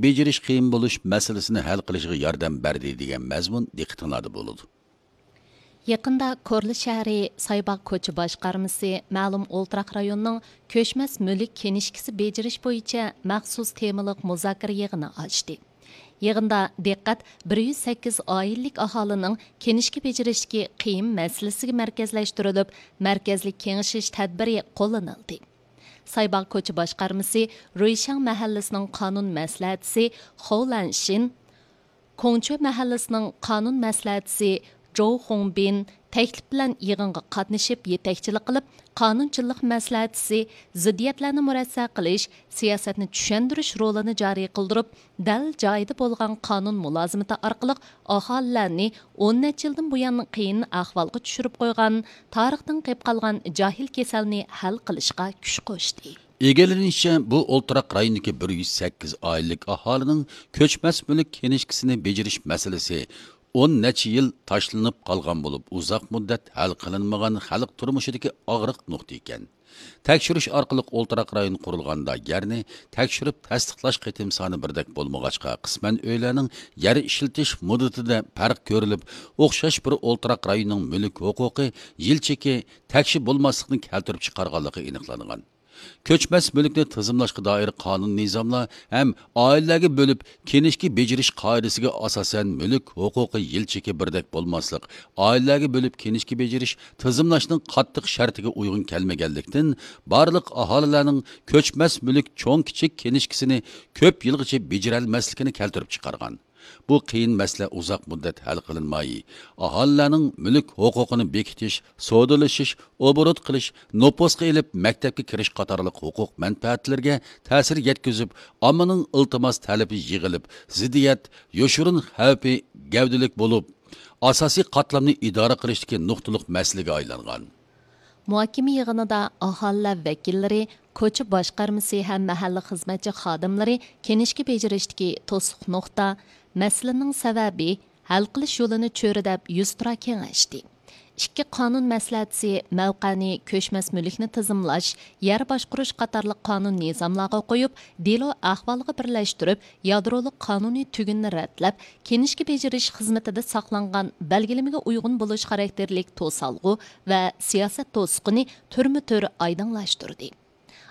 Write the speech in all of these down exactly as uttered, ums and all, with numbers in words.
بېجىرىش قىيىن بولۇش مەسىلىسىنى ھەل قىلىشىغا ياردەم بەردى دېگەن مەزمۇن دىققىتىڭلاردا بولىدۇ. يېقىندا كورلا شەھىرى سايباغ كوچا باشقارمىسى مەلۇم ئولتۇراق رايوننىڭ كۆچمەس مۈلۈك كىنىشكىسى بېجىرىش بويىچە مەخسۇس تېمىلىق مۇزاكىرە يىغىنى ئاچتى. يىغىندا دىققەت بىر يۈز سەككىز ئائىلىلىك ئاھالىنىڭ كىنىشكا بېجىرىشتىكى قىيىن مەسىلىسىگە مەركەزلەشتۈرۈلۈپ، مەركەزلىك كېڭىشىش تەدبىرى قوللىنىلدى. سايباغ كوچا باشقارمىسى رۇيشاڭ مەھەللىسىنىڭ قانۇن مەسلىھەتچىسى خو لەنشىن، كوڭچۈ مەھەللىسىنىڭ قانۇن مەسلىھەتچىسى جوۋ خۇڭبىن تەكلىپ بىلەن يىغىنغا قاتنىشىپ يېتەكچىلىك قىلىپ، قانۇنچىلىق مەسلىھەتچىسى زىددىيەتلەرنى مۇرەسسە قىلىش، سىياسەتنى چۈشەندۈرۈش رولىنى جارى قىلدۇرۇپ، دەل جايىدا بولغان قانۇن مۇلازىمىتى ئارقىلىق ئاھالىلەرنى ئون نەچچە يىلدىن بۇيان قىيىن ئەھۋالغا چۈشۈرۈپ قويغان، تارىختىن قېلىپ قالغان جاھىل كېسەلنى ھەل قىلىشقا كۈچ قوشتى. ئىگىلىنىشىچە، بۇ ئولتۇراق رايونىدىكى بىر يۈز سەككىز ئائىلىلىك ئاھالىنىڭ كۆچمەس مۈلۈك كىنىشكىسىنى بېجىرىش مەسىلىسى ئون نەچچە يىل تاشلىنىپ قالغان بولۇپ، ئۇزاق مۇددەت ھەل قىلىنمىغان خەلق تۇرمۇشىدىكى ئاغرىق نۇقتا ئىكەن. تەكشۈرۈش ئارقىلىق ئولتۇراق رايون قۇرۇلغاندا يەرنى تەكشۈرۈپ تەستىقلاش قېتىم سانى بىردەك بولمىغاچقا، قىسمەن ئۆيلەرنىڭ يەر ئىشلىتىش مۇددىتىدە پەرق كۆرۈلۈپ، ئوخشاش بىر ئولتۇراق رايوننىڭ مۈلۈك ھوقۇقى يىل چېكى تەكشى بولماسلىقنى كەلتۈرۈپ چىقارغانلىقى ئېنىقلانغان. كۆچمەس مۈلۈكنى تىزىملاشقا دائىر قانۇن نىزاملار ھەم ئائىلىلەرگە بۆلۈپ كىنىشكا بېجىرىش قائىدىسىگە ئاساسەن مۈلۈك ھوقۇقى يىل چېكى بىردەك بولماسلىق، ئائىلىلەرگە بۆلۈپ كىنىشكا بېجىرىش تىزىملاشنىڭ قاتتىق شەرتىگە ئۇيغۇن كەلمىگەنلىكتىن، بارلىق ئاھالىلەرنىڭ كۆچمەس مۈلۈك چوڭ كىچىك كىنىشكىسىنى كۆپ يىلغىچە بېجىرەلمەسلىكىنى كەلتۈرۈپ چىقارغان. بۇ قىيىن مەسىلە ئۇزاق مۇددەت ھەل قىلىنماي، ئاھالىلەرنىڭ مۈلۈك ھوقۇقىنى بېكىتىش، سودىلىشىش، ئوبوروت قىلىش، نوپۇسقا ئېلىپ مەكتەپكە كىرىش قاتارلىق ھوقۇق مەنپەئەتلىرىگە تەسىر يەتكۈزۈپ، ئاممىنىڭ ئىلتىماس تەلىپى يىغىلىپ، زىددىيەت، يوشۇرۇن خەۋپى گەۋدىلىك بولۇپ، ئاساسىي قاتلامنى ئىدارە قىلىشتىكى نۇقتىلىق مەسىلىگە ئايلانغان. مۇھاكىمە يىغىنىدا ئاھالىلەر ۋەكىللىرى، كوچا باشقارمىسى ھەم مەھەللە خىزمەتچى خادىملىرى كىنىشكا بېجىرىشتىكى توسۇق نۇقتا، مەسىلىنىڭ سەۋەبى، ھەل قىلىش يولىنى چۆرىدەپ يۈزتۇرا كېڭەشتى. ئىككى قانۇن مەسلىھەتچىسى مەۋقەنى كۆچمەس مۈلۈكنى تىزىملاش، يەر باشقۇرۇش قاتارلىق قانۇن نىزاملارغا قويۇپ، دېلو ئەھۋالىغا بىرلەشتۈرۈپ، يادرولۇق قانۇنىي تۈگۈننى رەتلەپ، كىنىشكا بېجىرىش خىزمىتىدە ساقلانغان بەلگىلىمىگە ئۇيغۇن بولۇش خاراكتېرلىك توسالغۇ ۋە سىياسەت توسۇقىنى تۈرمە تۈر ئايدىڭلاشتۇردى.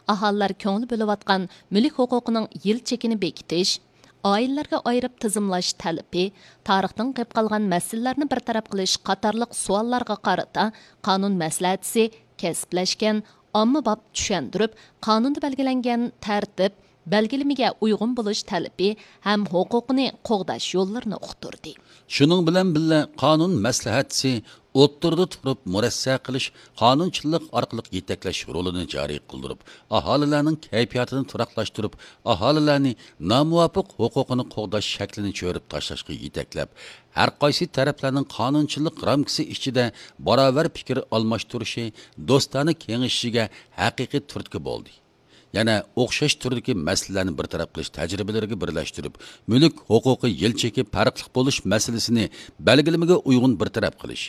ئاھالىلەر كۆڭۈل بۆلۈۋاتقان مۈلۈك ھوقۇقىنىڭ يىل چېكىنى بېكىتىش، ئائىلىلەرگە ئايرىپ تىزىملاش تەلىپى، تارىختىن قېلىپ قالغان مەسىلىلەرنى بىر تەرەپ قىلىش قاتارلىق سوئاللارغا قارىتا قانۇن مەسلىھەتچىسى كەسىپلەشكەن، ئاممىباب چۈشەندۈرۈپ، قانۇندا بەلگىلەنگەن تەرتىپ، بەلگىلىمىگە ئۇيغۇن بولۇش تەلىپى ھەم ھوقۇقىنى قوغداش يوللىرىنى ئۇقتۇردى. شۇنىڭ بىلەن بىللە، قانۇن مەسلىھەتچىسى ئوتتۇرىدا تۇرۇپ مۇرەسسە قىلىش، قانۇنچىلىق ئارقىلىق يېتەكلەش رولىنى جارى قىلدۇرۇپ، ئاھالىلەرنىڭ كەيپىياتىنى تۇراقلاشتۇرۇپ، ئاھالىلەرنى نامۇۋاپىق ھوقۇقىنى قوغداش شەكلىنى چۆرۈپ تاشلاشقا يېتەكلەپ، ھەر قايسى تەرەپلەرنىڭ قانۇنچىلىق رامكىسى ئىچىدە باراۋەر پىكىر ئالماشتۇرۇشى، دوستانە كېڭىشىشىگە ھەقىقىي تۈرتكە بولدى. يەنە ئوخشاش تۈردىكى مەسىلىلەرنى بىر تەرەپ قىلىش تەجرىبىلىرىگە بىرلەشتۈرۈپ، مۈلۈك ھوقۇقى يىل چېكى پەرقلىق بولۇش مەسىلىسىنى بەلگىلىمىگە ئۇيغۇن بىر تەرەپ قىلىش،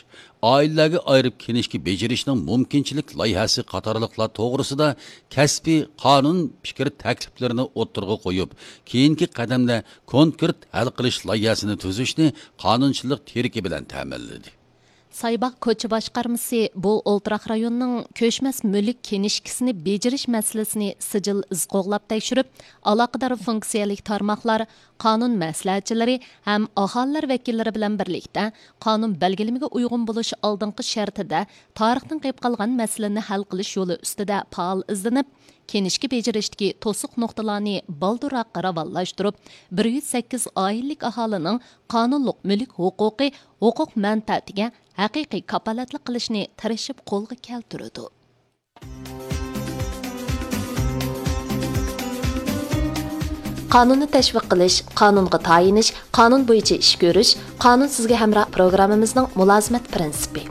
ئائىلىلەرگە ئايرىپ كىنىشكا بېجىرىشنىڭ مۇمكىنچىلىك لايىھەسى قاتارلىقلار توغرىسىدا كەسپىي قانۇن پىكىر تەكلىپلىرىنى ئوتتۇرىغا قويۇپ، كېيىنكى قەدەمدە كونكرېت ھەل قىلىش لايىھەسىنى تۈزۈشنى قانۇنچىلىق تىرىكى بىلەن تەمىنلىدى. سايباغ كوچا باشقارمىسى بۇ ئولتۇراق رايوننىڭ كۆچمەس مۈلۈك كىنىشكىسىنى بېجىرىش مەسىلىسىنى سىجىل ئىز قوغلاپ تەكشۈرۈپ، ئالاقىدار فۇنكسىيەلىك تارماقلار، قانۇن مەسلىھەتچىلىرى ھەم ئاھالىلەر ۋەكىللىرى بىلەن بىرلىكتە قانۇن بەلگىلىمىگە ئۇيغۇن بولۇش ئالدىنقى شەرتىدە تارىختىن قېلىپ قالغان مەسىلىنى ھەل قىلىش يولى ئۈستىدە پائال ئىزدىنىپ، كىنىشكا بېجىرىشتىكى توسۇق نۇقتىلارنى بالدۇرراق راۋانلاشتۇرۇپ، بىر يۈز سەككىز ئائىلىلىك ئاھالىنىڭ قانۇنلۇق مۈلۈك ھوقۇقى، ھوقۇق مەنپەئەتىگە ھەقىقىي كاپالەتلىك قىلىشنى تىرىشىپ قولغا كەلتۈرىدۇ. قانۇننى تەشۋىق قىلىش، قانۇنغا تايىنىش، قانۇن بويىچە ئىش كۆرۈش، قانۇن سىزگە ھەمراھ پروگراممىمىزنىڭ مۇلازىمەت پىرىنسىپى.